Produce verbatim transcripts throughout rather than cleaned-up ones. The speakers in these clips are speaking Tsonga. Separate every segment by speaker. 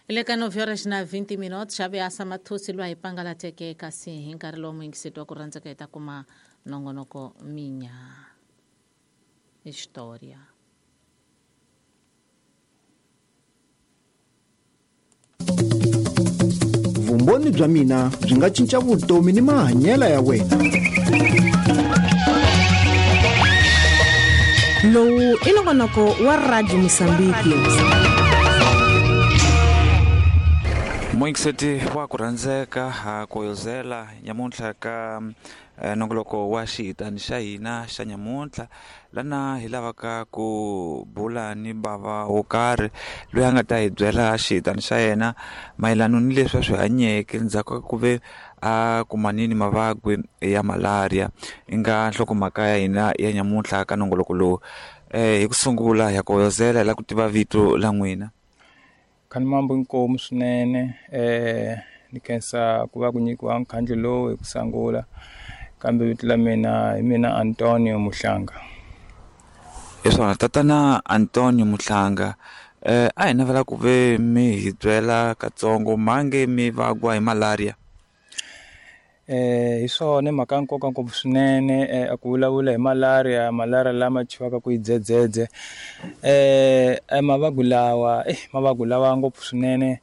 Speaker 1: Le ka nove horas na vinte minutos xavi asa mathusi lwa hi pangalateke kasi hi nkarhi lowu muyingiseti wa ku rhandzeka hi ta kuma nongonoko Minha História.
Speaker 2: Vumbhoni bya mina byi nga cinca vutomi ni mahanyelo ya wena.
Speaker 3: Lowu i nongonoko wa Radio Mozambique.
Speaker 4: Muyingiseti wa ku rhandzeka ha koyozela nyamuntlha ka nongoloko wa xihitani xa hina xa nyamuntlha lana hi lavaka ku bula ni bava wo karhi loyi a nga ta hi byela xihitani xa yena mayelana ni leswi a swi hanyeke ndzhaku ka ku ve a kumanini mavabyi ya malaria i nga nhlokomhaka ya hina ya nyamuntlha ka nongoloko lowu. Eh hi ku sungula ya koyozela hi lava ku tiva vito la n'wina.
Speaker 5: Khani mambo inkomu swinene eh ni khensa ku va ku nyikiwa nkhandlu lowu hi ku sungula kambe vito la mina hi mina Antonio Muhlanga.
Speaker 4: Hi swona tatana Antonio Muhlanga, eh a hi navela ku ve mi hi byela katsongo mange mi vagwa hi malaria.
Speaker 5: Eh hi swona mhaka nkoka ngopfu swinene eh ku vulavula hi malaria malaria lama chiwaka ku idzedzedze eh mavabyi lawa eh mavabyi lawa ngopfu swinene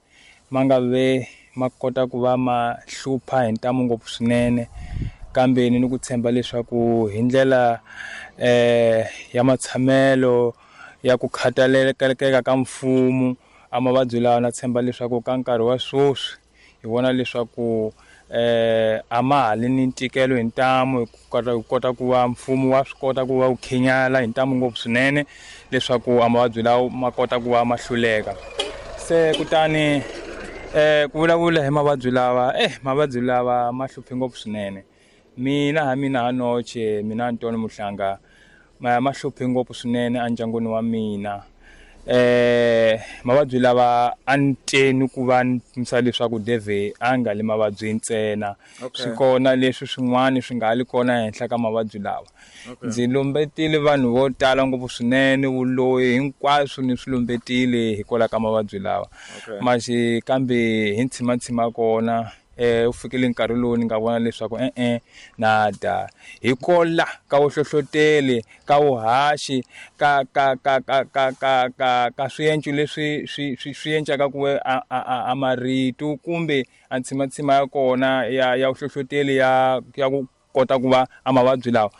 Speaker 5: ma nga ve ma kota ku va ma hlupha hi ntamu ngopfu swinene kambe ni ku tshemba leswaku hi ndlela eh ya matshamelo ya ku khathaleleka ka mfumo a mavabyi lawa na tshemba leswaku ka nkarhi wa sweswi hi vona leswaku eh a ma ha li ni ntikelo hi ntamu hi kota ku kota ku va mfumo wa swi kota ku va wu khinyala hi ntamu ngopfu swinene leswaku a mavabyi lawa ma kota ku va ma hluleka. Se kutani eh ku vulavula hi mavabyi lawa eh mavabyi lawa ma hluphe ngopfu swinene. Mina ha mina ha noche mina Antonio Muhlanga ma ma hluphe ngopfu swinene endyangwini wa mina. Eh mavabyi lawa a ni teni ku va ni pimisa leswaku Deve a nga le mavabyi ntsena swi kona leswi swin'wana swi nga li kona ehenhla ka mavabyi lawa. Ndzi lumbetile vanhu vo tala ngopfu swinene vuloyi hinkwaswo ni swi lumbetile hikwalaho ka mavabyi lawa manje kambe hi ntshimatshima kona eh u fikile nkarhi lowu ni nga vona leswaku eh eh nada hikola ka vuhlohloteli ka vuhaxi ka ka ka ka ka ka ka ka swienco leswi swi swi swi encaka ku a a marito kumbe a ntshimatshima ya kona ya ya vuhlohloteli ya ya ku kota ku va a mavabyi lawa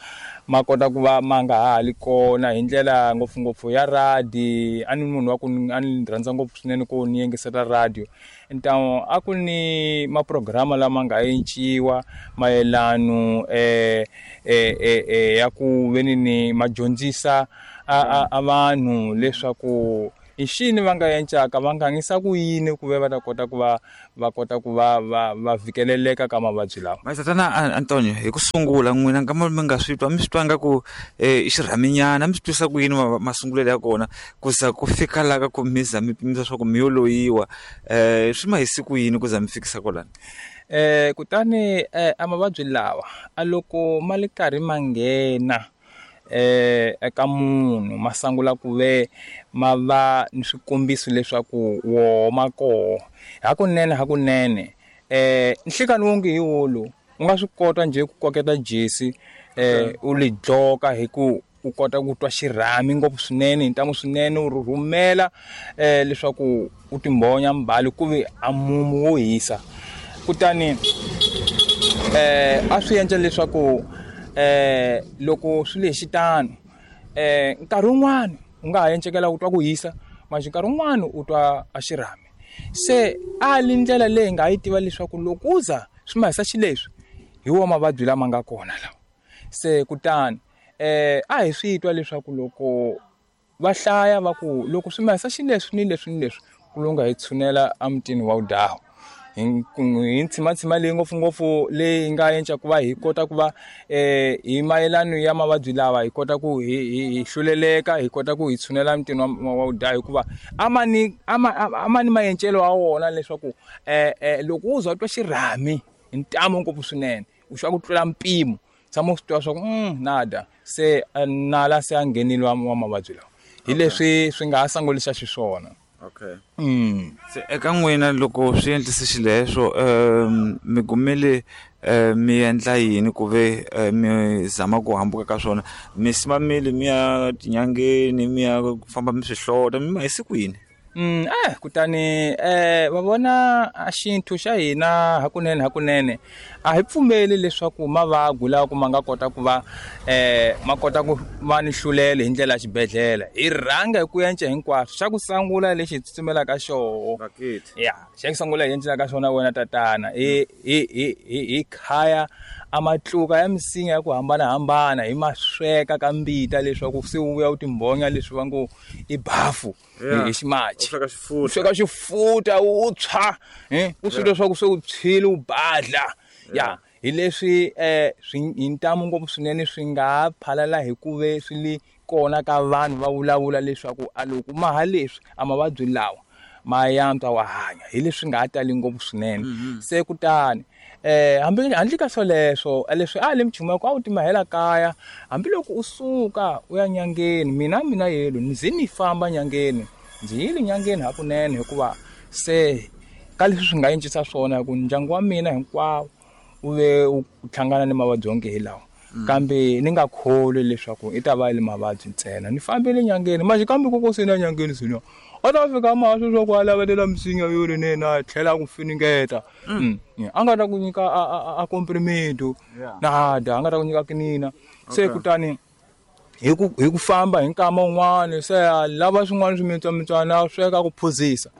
Speaker 5: ma kota ku va ma nga ha li kona hi ndlela ngopfungopfu ya radio. A ni munhu wa ku a ni rhandza ngopfu swinene ku ni yingisela radio ntamu a ku ni maprograma lama nga enciwa mayelano eh eh eh ya ku veni ni madyondzisa a a vanhu leswaku i xini va nga encaka va nga ngisa ku yini ku ve va ta kota ku va va kota ku va va va vhikeleleka ka mavabyi lawa.
Speaker 4: Tatana Antonio, hi ku sungula n'wina nga mi nga swi twa mi swi twa nga ku i xirhaminyana mi swi twisa ku yini masungulelo ya kona ku za ku fika la ka ku mi za mi pimisa swa ku mi yo loyiwa eh swi ma hisi ku yini ku za mi fikisa kwalano?
Speaker 5: Eh kutani eh a mavabyi lawa a loko ma le karhi ma nghena eh eka munhu ma sungula ku ve ma va ni swikombiso leswaku wo ma koho hakunene hakunene eh nhlikani wonge hi wolo u nga swi kota nje ku koketa jesi eh u li dloka hi ku u kota ku twa xirhami ngopfu swinene hi ntamu swinene u rhumela eh leswaku u timbonya mbali ku ve a mumu wo hisa kutani eh a swi endla leswaku eh loko swi le xitano eh nkarhi wun'wana u nga ha encekela u twa ku hisa manje nkarhi wun'wana u twa a xirhami se a li ndlela leyi nga yi tiva leswaku loko u za swi ma hisa xileswi hi wo mavabyi lama nga kona lawa. Se kutani eh a hi swi twa leswaku loko va hlaya va ku loko swi ma hisa xileswi ni leswi ni leswi ku longa hi tshunela emutini wa Udawu hi ntshimatshima leyi ngopfungopfu leyi nga enca ku va hi kota ku va eh hi mayelano ya mavabyi lawa hi kota ku hi hi hluleleka hi kota ku hi tshunela mutini wa wa Udawu hikuva a ma ni a ma a ma ni maencelo wa wona leswaku eh eh loko u za twa xirhami hi ntamu ngopfu swinene u xwa ku tlula mpimo tshama u swi twa swa ku mm nada se nala se a nghenile wa mavabyi lawa hi leswi swi nga ha sangulisa xiswona.
Speaker 4: Okay.
Speaker 5: Mm.
Speaker 4: Se eka n'wina loko swi endlise xileswo um mi kumile um mi endla yini ku ve mi zama ku hambuka ka swona mi simamile mi ya tinyangeni mi ya ku famba mi swi hlota mi ma hi siku yini?
Speaker 5: Mm, eh kutani eh va vona a xintu xa hina hakunene hakunene a hi pfumeli leswaku mavabyi lawa ku ma nga kota ku va eh ma kota ku va ni hlulele hi ndlela ya xibedhlele hi rhanga hi ku yenca hinkwaswo xa ku sungula lexi hi tsutsumelaka xoho ya xa ku sungula hi yencelaka xona wena tatana hi hi hi hi khaya a matluka ya misinya ya ku hambanahambana hi ma sweka ka mbita leswaku se wu vuya wu timbhonya leswi va ngo i bafu hi ximachi
Speaker 4: u
Speaker 5: sweka xifuta u tshwa eh u swi twa swa ku se u tshwile u badla ya hi leswi eh swi hi ntamu ngopfu swinene swi nga phalala hi ku ve swi le kona ka vanhu va vulavula leswaku a loko ma ha leswi a mavabyi lawa ma yantswa wa hanya hi leswi nga tali ngopfu swinene se kutani eh hambi handle ka swoleswo leswi a le mchumo ku a wu timahela kaya hambiloko u suka u ya nyangeni mina mina yelo ndzi ni famba nyangeni ndzi yile nyangeni hakunene hikuva se ka leswi swi nga encisa swona ku ndyangu wa mina hinkwawo u ve u hlangana ni mavabyi onge hi lawa kambe ni nga kholwi leswaku i ta va le mavabyi ntsena ni fambile nyangeni manje kambe koko se na nyangeni sina a ta fika mahlo swa ku a lavelela misinya yo rinene a tlhela ku finingeta a nga ta ku nyika a komprimedo nada a nga ta ku nyika kinina se kutani hi ku hi ku famba hi nkama wun'wani se a lava swin'wana swimitswamitswana a sweka ku phuzisa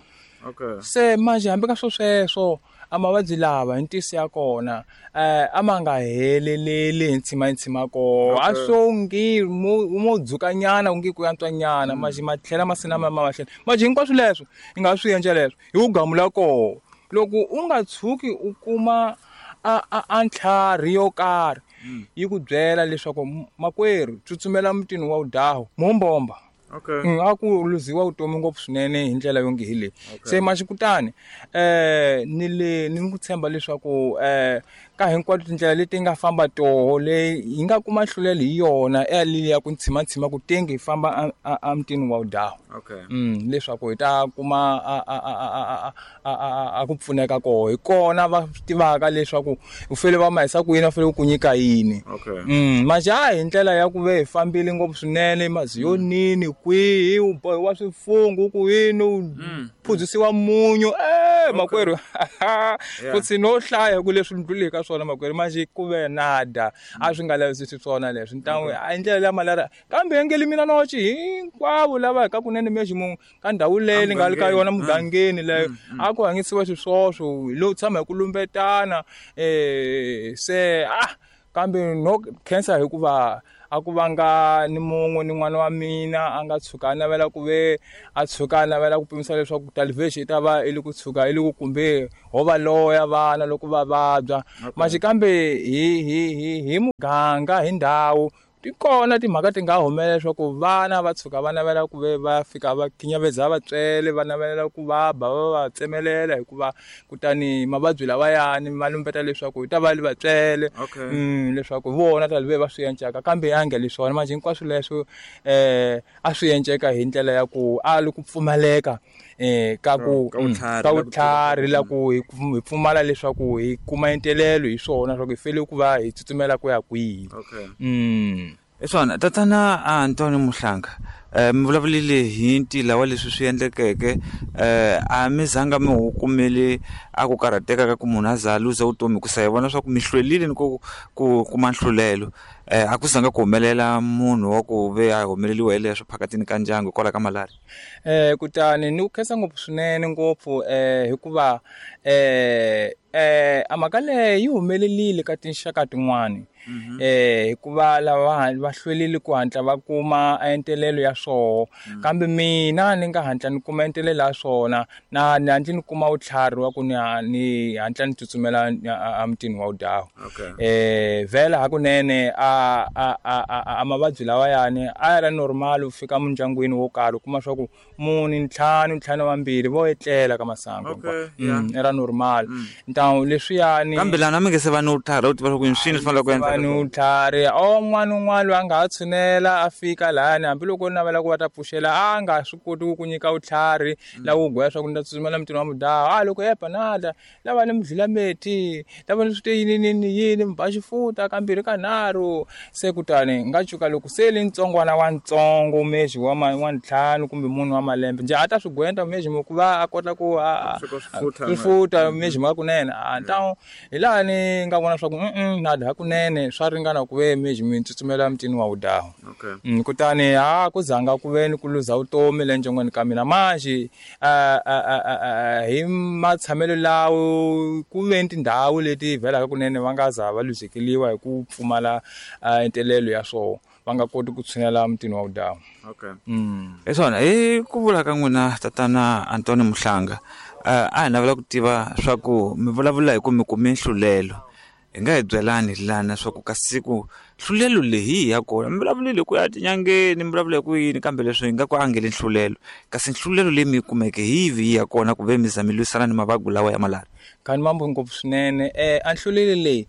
Speaker 4: okay
Speaker 5: se manje hambi ka swo sweswo a mavabyi lava hi ntiyiso ya kona eh a ma nga heleleli hi ntshima hi ntshima koho a swo ngi mo mo dzukanyana ku ngi ku yantswanyana manje ma tlhela ma sina ma ma tlhela manje hinkwaswo leswo i nga swi endla leswo hi ku gamula koho loko u nga tshuki u kuma a a ntlhari yo karhi yi ku byela leswaku makwerhu tsutsumela mutini wa udahu mumbomba
Speaker 4: okay
Speaker 5: a ku luziwa vutomi ngopfu swinene hi ndlela yonge hi leyi se maxikutani eh ni le ni ku tshemba leswaku eh ka hinkwato tindlela leti nga famba toho leyi hi nga kuma hlulelo hi yona e ya ku ntshima ntshima ku tenge hi famba a mutini wa udahu
Speaker 4: okay
Speaker 5: mm leswaku hi ta kuma a a a a a ku pfuneka koho hi kona va tivaka leswaku u fele va mahisa ku yini va fele ku nyika yini
Speaker 4: okay
Speaker 5: mm manje a hi ndlela ya ku ve hi fambile ngopfu swinene maziyonini kwihi u bohiwa swifungu ku yini u phuzisiwa munyu eh makwerhu futhi no hlaya ku leswi ndluleke ka swona makwerhu manje ku ve nada a swi nga lavisisi swona leswi ntangu a ndlela ya malaria kambe engeli mina nochi hinkwavo lava ka kunene meximu ka ndhawu leyi ni nga le ka yona mugangeni leyo a ku hanyisiwa xiswoswo hi lo tshama hi ku lumbetana eh se ah kambe no khensa hikuva a ku vanga ni mun'we ni n'wana wa mina a nga tshuka a navela ku ve a tshuka a navela ku pimisa leswaku talivexi i ta va i le ku tshuka i le ku kumbe ho va loya vana loko va vabya manje kambe hi hi hi hi muganga hi ndhawu ti kona timhaka ti nga humelela leswaku vana va tshuka va navela ku ve va fika va khinyaveza vatswele va navelela ku va ba va va tsemelela hikuva kutani mavabyi lawayani ma lumbeta leswaku hi ta va le vatswele mm leswaku vona ta ve va swi encaka kambe ya nge leswona manje hinkwaswo leswo eh a swi enceka hi ndlela ya ku a li ku pfumaleka eh ka ku ka vutlhari la ku hi pfumala leswaku hi kuma entelelo hi swona leswaku hi fele ku va hi tsutsumela ku ya kwihi
Speaker 4: okay
Speaker 5: mm
Speaker 4: Eswana tatana Antonio Muhlanga eh mi vulavulile hi ntila wa leswi swi endlekeke eh a mi zanga mi hu kumele a ku karhateka ka ku munhu a za luza vutomi ku sa hi vona swa ku mi hlwelile ni ku ku kuma nhlulelo eh a ku zanga ku humelela munhu wa ku ve a humeleliwa hi leswo phakatini ka ndyangu hikwalaho ka malaria
Speaker 5: eh kutani ni ku khensa ngopfu swinene ngopfu eh hikuva eh eh a mhaka leyi yi humelelile ka tinxaka tin'wani eh hikuva lava va hlwelile ku hatla va kuma entelelo ya swoho kambe mina ni nga hatla ni kuma entelelo ya swona na ni hatla ni kuma vutlhari wa ku ni ni hatla ni tsutsumela a mutini wa udahu eh vhela hakunene a a a a mavabyi lawayani a ya ri normal u fika mindyangwini wo karhi u kuma swa ku mune ntlhanu ntlhanu vambirhi vo etlela ka masangu
Speaker 4: Okay,
Speaker 5: mm era normal ntawu leswiyani
Speaker 4: kambe lana mi nge se va ni vutlhari u tiva swa ku i swini swi fanele ku endla
Speaker 5: vanhu vutlhari o n'wana un'wana loyi a nga ha tshunela a fika lahani hambiloko u navela navela ku va ta pfuxela a nga swi koti ku nyika vutlhari la wu gwaya swa ku ni ta tsutsumela mutini wa mudaha a loko ya panada lava ni mudlula meti lava ni swi te yini yini yini mi ba xifuta kambirhi kanharhu se kutani nga cuka loko se li ntsongwana wa ntsongo mexi wa wa ntlhanu kumbe munhu wa malembe njhe a ta swi gwenta mexi ku va a kota ku a swifuta mexi ma kunene a ntawu hi laha ni nga vona swa ku nada hakunene swa ringana ku ve mexi mi tsutsumela mutini wa wudahu
Speaker 4: okay.
Speaker 5: Kutani ha ku zanga ku ve ni ku luza vutomi le ndyangwini ka mina manjhe hi matshamelo lawo ku ve ni tindhawu leti vhelaka kunene va nga za va luzekeliwa hi ku pfumala ntelelo ya swoho va nga koti ku tshinela mutini wa wudahu.
Speaker 4: Okay. Mm. Hi swona hi ku vula ka n'wina tatana Antoine Mhlanga a hi navela ku tiva swa ku mi vulavula hi ku mi kume nhlulelo hi nga hi byelani lana swa ku ka siku nhlulelo leyi ya kona mi vulavulile ku ya tinyangeni mi vulavula hi ku yini kambe leswi hi nga ku angeli nhlulelo kasi nhlulelo leyi mi yi kumeke hi yivi ya kona ku ve mi za mi lwisana ni mavabyi lawa ya malaria.
Speaker 5: Kani mambo ngopfu swinene eh a nhlulelo leyi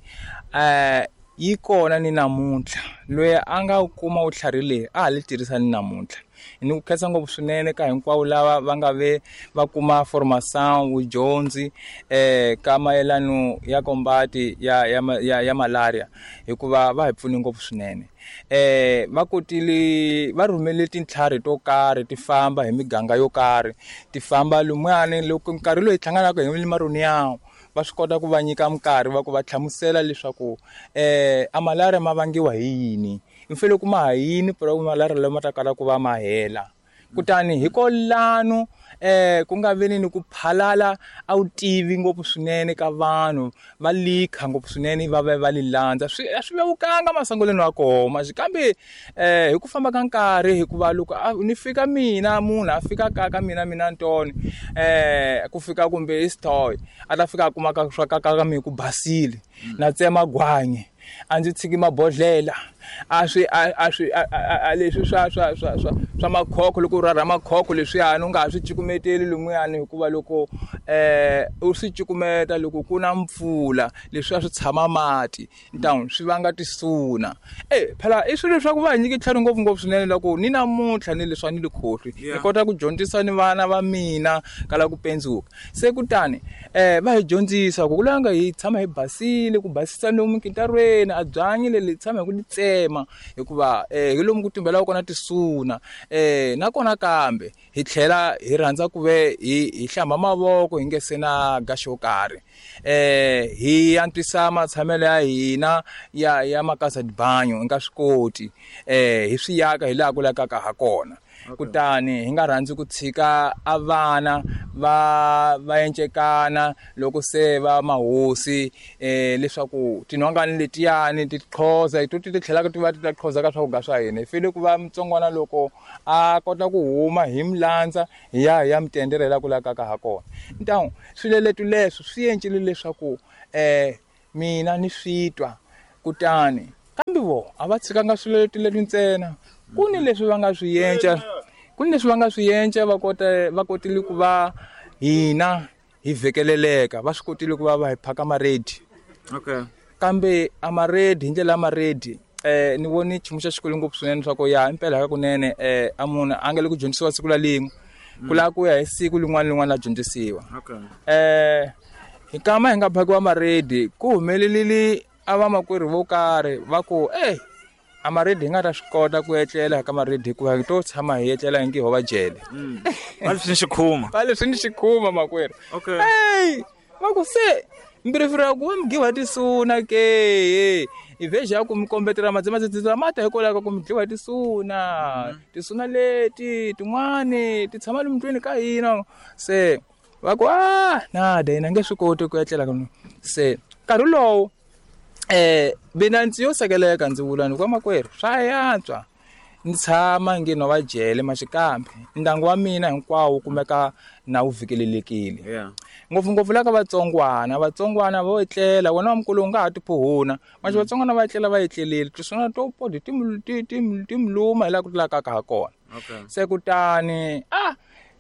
Speaker 5: eh yi kona ni namuntlha loyi a nga kuma vutlhari leyi a ha li tirhisa ni namuntlha ni ku khensa ngopfu swinene ka hinkwavo lava va nga ve va kuma formation vudyondzi eh ka mayelano ya kombati ya ya ya, ya malaria hikuva va hi pfune ngopfu swinene eh va kotile va rhumele tintlhari to karhi ti famba hi miganga yo karhi ti famba lumuyani loko nkarhi loyi hlanganaka hi maroni yawo va swi kota ku va nyika minkarhi va ku va hlamusela leswaku eh a malaria ma vangiwa hi yini mfelo kuma ha yini pero malaria lama ta kala ku va ma hela kutani hikolano eh ku nga veni ni ku phalala a wu tivi ngopfu swinene ka vanhu va likha ngopfu swinene va va va li landza swi swi vevukanga masangoleni wa koma kambe eh hi ku famba ka nkarhi hikuva loko ni fika mina munhu a fika ka ka mina mina Ntoni eh ku fika kumbe istoy a ta fika a kuma ka swa ka ka mi ku basile na tsema gwanyi a ndzi tshiki mabodlela a swi a swi a leswi swa swa swa swa swa makhokho loko u rharha makhokho leswiyani u nga ha swi cukumeteli lumuyani hikuva loko eh u swi cukumeta loko ku na mpfula leswi a swi tshama mati ntawu swi vanga tisuna eh phela i swilo leswaku va hi nyike tlhari ngopfu ngopfu swinene loko ni namuntlha ni leswi a ni li khohlwi ni kota ku dyondzisa ni vana va mina kala ku pendzuka se kutani eh va hi dyondzisa ku kulanga hi tshama hi basile ku basisa lomu nkintarweni a byanyi leli tshama hi ku li tsema hikuva eh hi lomu ku tumbelaka kona tisuna eh nakona kambe hi tlhela hi rhandza ku ve hi hi hlamba mavoko hi nge se na gaxo yo karhi eh hi antswisa matshamelo ya hina ya ya makasa dibanyo hi nga swi koti eh hi swi yaka hi laha ku lakaka ha kona. Kutani hi nga rhandzi ku tshika a vana va va encekana loko se va mahosi eh leswaku tinhongani letiyani ti qhoza hi to ti tlhelaka ti va ti ta qhoza ka swakudya swa hina hi fanele ku va mutsongwana loko a kota ku huma hi milandza hi ya hi ya mitenderela ku lakaka ha kona ntawu swilo leswi leswi swi encile leswaku eh mina ni switwa kutani kambe vo a va tshikanga swilo leswi ntsena ku ni leswi va nga swi yenca ku ni leswi va nga swi yenca va kota va kotile ku va hina hi vhekeleleka va swi kotile ku va va hi phaka maredi.
Speaker 4: Okay.
Speaker 5: Kambe a maredi hi ndlela ya maredi eh ni voni nchumu xa xikolo ngopfu swinene swa ku ya impela ka kunene eh a munhu a nga le ku dyondzisiwa siku la lin'we ku lava ku ya hi siku lin'wana lin'wana la dyondzisiwa.
Speaker 4: Okay.
Speaker 5: Eh hi kama hi nga phakiwa maredi ku humelelile a vamakwerhu vo karhi va ku eh a maredi hi nga ta swi kota ku etlela ka maredi hikuva hi to tshama hi etlela hi nge ho va jele
Speaker 4: va leswi ni xikhuma
Speaker 5: va leswi ni xikhuma makwerhu.
Speaker 4: Okay.
Speaker 5: Hey va ku se mbirifira ku va mi giwa tisuna ke i veja ya ku mi kombetela madzimadzimadzima mata hikwalaho ka ku mi dliwa hi tisuna tisuna leti tin'wani ti tshama lomu ndlwini ka hina se va ku a nada hina nge swi koti ku etlela ka se nkarhi lowu eh mina ndzi yo sekeleka ndzi vula ni kwa makwerhu swa yantswa ni tshama nge no va jele maxikambe ndyangu wa mina hinkwawo kumeka na wu vhikelelekile.
Speaker 4: Yeah.
Speaker 5: Ngopfungopfu la ka vatsongwana vatsongwana vo etlela wena wa mukulu u nga ha tiphuhuna manje vatsongwana va etlela va etlelile tisuna to podi ti ti ti miluma hi laha ku tlulaka ha kona.
Speaker 4: Okay.
Speaker 5: Se kutani ah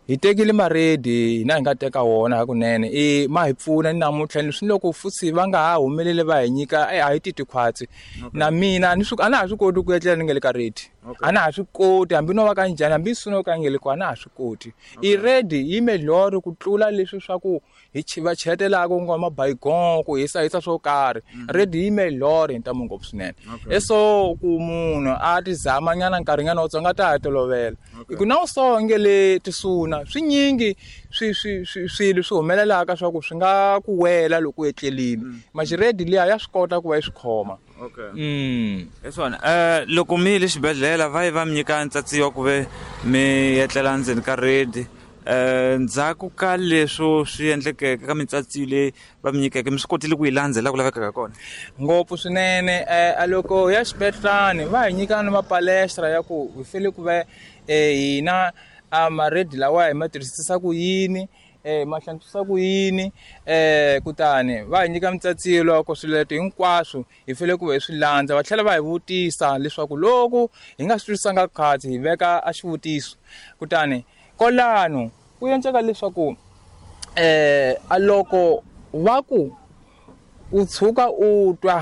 Speaker 5: hi tekile maredi hina hi nga teka wona hakunene i ma hi pfuna ni namuntlha leswi loko futhi va nga ha humeleli va hi nyika a hi titwi khwatsi na mina ni swi a na ha swi koti ku etlela ni nga le ka redi. A na ha swi koti hambi no va ka njhani hambi swi ka ngele ku a na ha swi koti. I ready yi melhoro ku tlula leswi swa ku hi va chetelaka ku nga mabaygon ku hisa hisa swo karhi. Ready yi melhoro hi ntamu ngopfu swinene. Eso ku munhu a ti zama nyana nkarhi nyana wutsongo a ta ha tolovela. Hi ku na u so ngele tisuna swinyingi swi swi swilo swi humelelaka swa ku swi nga ku wela loko u etlelile. Maxi ready liya ya swi kota ku va yi swi khoma.
Speaker 4: Okay.
Speaker 5: Mm.
Speaker 4: Hi swona eh loko mi le xibedhlele va yi va mi nyika ntsatsiwa ku ve mi etlela ndzeni ka redi eh ndzhaku ka leswo swi endlekeke ka mintsatsiyo leyi va mi nyikeke mi swi kotile ku yi landzela ku lavekaka kona?
Speaker 5: Ngopfu swinene. Eh loko ya xibedhlani va hi nyika na mapalestra ya ku hi fanele ku va hina a maredi lawa hi ma tirhisisa ku yini, eh ma hlantswisa ku yini, eh kutani va hi nyika mintsatsiyo loko swileto hinkwaswo hi fanele ku va hi swi landza. Va tlhela va hi vutisa leswaku loko hi nga swi twisisanga kahle hi veka a xivutiso. Kutani kwalano ku endleka leswaku eh a loko va ku u tshuka u twa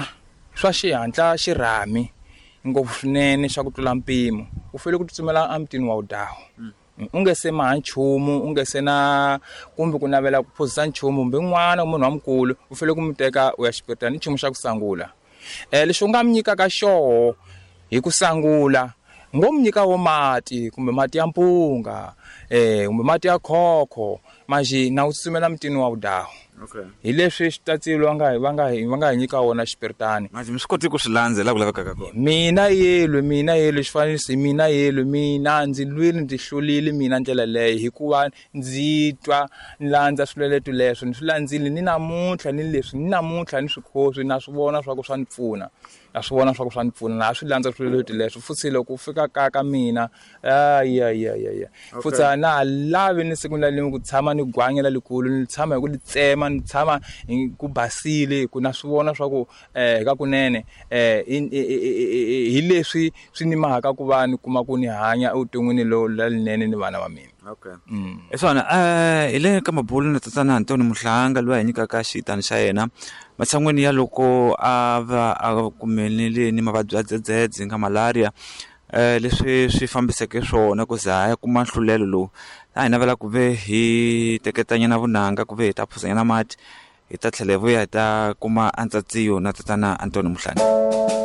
Speaker 5: swa xihatla xirhami ngopfu swinene xa ku tlula mpimo u fanele ku tsutsumela emutini wa wudawu. U nge se maha nchumu, u nge se na kumbe ku navela ku phuzisa nchumu kumbe n'wana munhu wa mukulu u fanele ku mi teka u ya xibedhlele ni nchumu xa ku sangula. Eh lexi u nga mi nyikaka xoho hi ku sangula ngo mi nyika wo mati kumbe mati ya mpunga eh kumbe mati ya khokho manje na u tsutsumela mutini wa wudawu.
Speaker 4: Okay.
Speaker 5: Hi leswi xitatsilo va nga va nga va nga hi nyika wona xipiritani.
Speaker 4: Manje mi swi koti ku swi landzela ku lavekaka kona?
Speaker 5: Mina yelwe mina yelwe xifaniso mina yelwe mina ndzi lwile ndzi hlulile mina ndlela leyo hikuva ndzi twa ni landza swileleto leswo ni swi landzile ni namuntlha ni leswi ni namuntlha ni swi khoswi na swi vona swa ku swa ni pfuna. Na swi vona swa ku swa ni pfuna na swi landza swileleto leswo futhi loko u fika ka ka mina ay ay ay ay futhi a na lavi ni siku na rin'we ku tshama ni gwanyela likulu ni tshama hi ku li tsema ni tshama ku basile ku na swi vona swa ku eh ka kunene eh hi leswi swi ni mahaka ku va ni kuma ku ni hanya evuton'wini lo lalinene ni vana va mina.
Speaker 4: Okay. Hi swona eh hi le ka mabulu na tatana Antoni Muhlanga loyi a hi nyikaka xitani xa yena matshan'weni ya loko a va a kumelele ni mavabyi ya dzedzedze nga malaria eh leswi swi fambiseke swona ku za ya kuma nhlulelo lowu a hi navela ku ve hi teketanyana vunanga ku ve hi ta phuzanyana mati hi ta tlhela hi vuya hi ta kuma antsatsiyo na tatana Antoni Muhlanga.